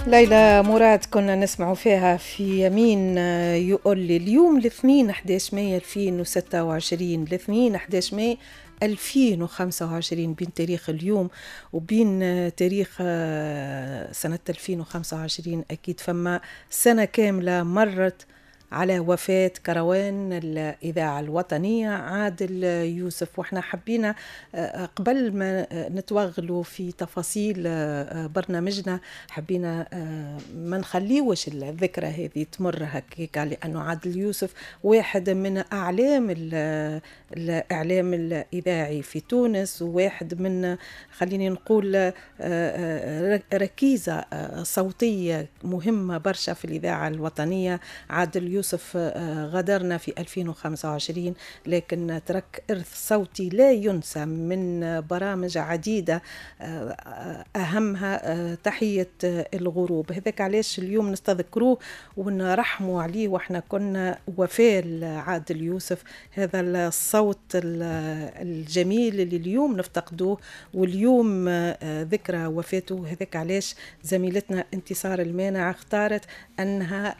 ليلى مراد كنا نسمع فيها في يمين يقول لي. اليوم الاثنين 11 ماي 2026، الاثنين 11 ماي 2025، بين تاريخ اليوم وبين تاريخ سنة 2025 أكيد فما سنة كاملة مرت على وفاة كروان الإذاعة الوطنية عادل يوسف. وإحنا حبينا قبل ما نتوغلوا في تفاصيل برنامجنا حبينا ما نخليوش الذكرى هذه تمر هكاك، لأنه عادل يوسف واحد من أعلام الإعلام الإذاعي في تونس، وواحد من خليني نقول ركيزة صوتية مهمة برشا في الإذاعة الوطنية. عادل يوسف غادرنا في 2025، لكن ترك إرث صوتي لا ينسى من برامج عديدة، أهمها تحية الغروب. هذاك علاش اليوم نستذكروه ونرحموا عليه، وإحنا كنا وفاء عادل يوسف، هذا الصوت الجميل اللي اليوم نفتقدوه، واليوم ذكرى وفاته. هذاك علاش زميلتنا انتصار المانع اختارت أنها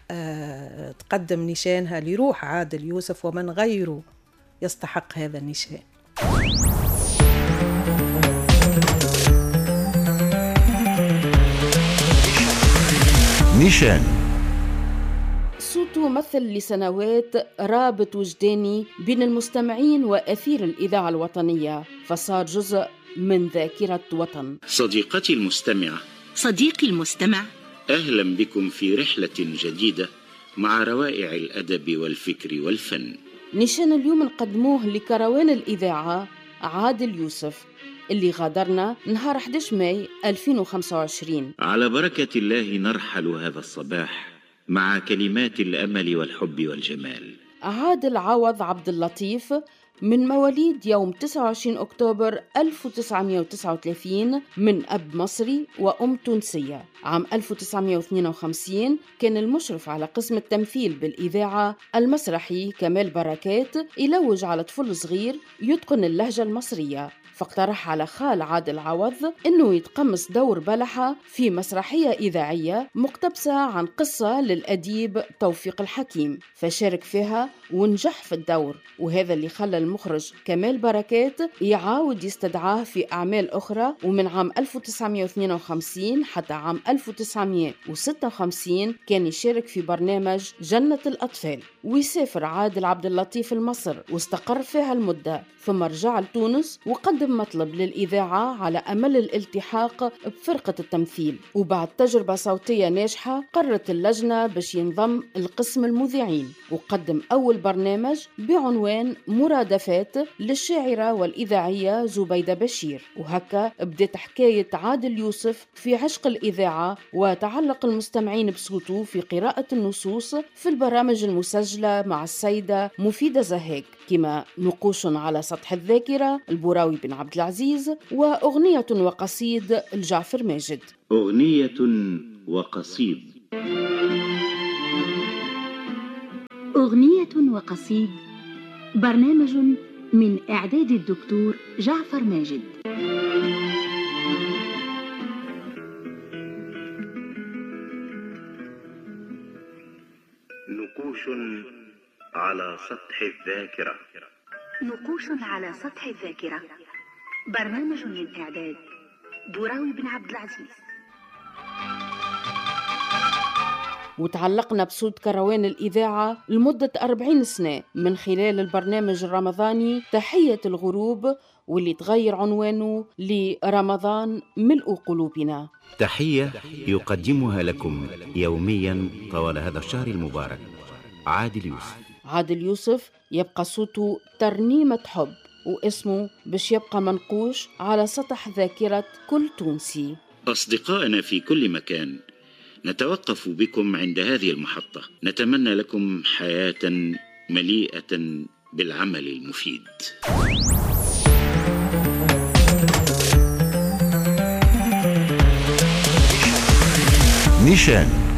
تقدم نشانها لروح عادل يوسف ومن غيره يستحق هذا النشان. نشان صوته مثل لسنوات رابط وجداني بين المستمعين وأثير الإذاعة الوطنية، فصار جزء من ذاكرة وطن. صديقتي المستمعة، صديقي المستمع، أهلا بكم في رحلة جديدة مع روائع الأدب والفكر والفن. نشان اليوم نقدموه لكروان الإذاعة عادل يوسف اللي غادرنا نهار 11 ماي 2025. على بركة الله نرحل هذا الصباح مع كلمات الأمل والحب والجمال. عادل عوض عبد اللطيف من مواليد يوم 29 أكتوبر 1939 من أب مصري وأم تونسية. عام 1952 كان المشرف على قسم التمثيل بالإذاعة المسرحي كمال بركات يلوج على طفل صغير يتقن اللهجة المصرية، فاقترح على خال عادل عوض أنه يتقمص دور بلحة في مسرحية إذاعية مقتبسة عن قصة للأديب توفيق الحكيم، فشارك فيها ونجح في الدور، وهذا اللي خلى المخرج كمال بركات يعاود يستدعاه في أعمال أخرى. ومن عام 1952 حتى عام 1956 كان يشارك في برنامج جنة الأطفال. ويسافر عادل عبد اللطيف لمصر واستقر فيها المدة، ثم رجع لتونس وقدم مطلب للإذاعة على أمل الالتحاق بفرقة التمثيل. وبعد تجربة صوتية ناجحة قررت اللجنة باش ينضم القسم المذيعين، وقدم أول برنامج بعنوان مرادفات للشاعرة والإذاعية زبيدة بشير. وهكا بدأت حكاية عادل يوسف في عشق الإذاعة وتعلق المستمعين بصوته في قراءة النصوص في البرامج المسجلة مع السيدة مفيدة زهاك، كما نقوش على سطح الذاكرة البراوي بن عبد العزيز، وأغنية وقصيد الجعفر ماجد. أغنية وقصيد. أغنية وقصيد، برنامج من إعداد الدكتور جعفر ماجد. نقوش على سطح الذاكرة. نقوش على سطح الذاكرة، برنامج من إعداد براوي بن عبد العزيز. وتعلقنا بصوت كروان الإذاعة لمدة 40 سنة من خلال البرنامج الرمضاني تحية الغروب، واللي تغير عنوانه لرمضان ملء قلوبنا. تحية يقدمها لكم يوميا طوال هذا الشهر المبارك عادل يوسف. عادل يوسف يبقى صوته ترنيمة حب، واسمه باش يبقى منقوش على سطح ذاكرة كل تونسي. أصدقائنا في كل مكان، نتوقف بكم عند هذه المحطة. نتمنى لكم حياة مليئة بالعمل المفيد. نيشان.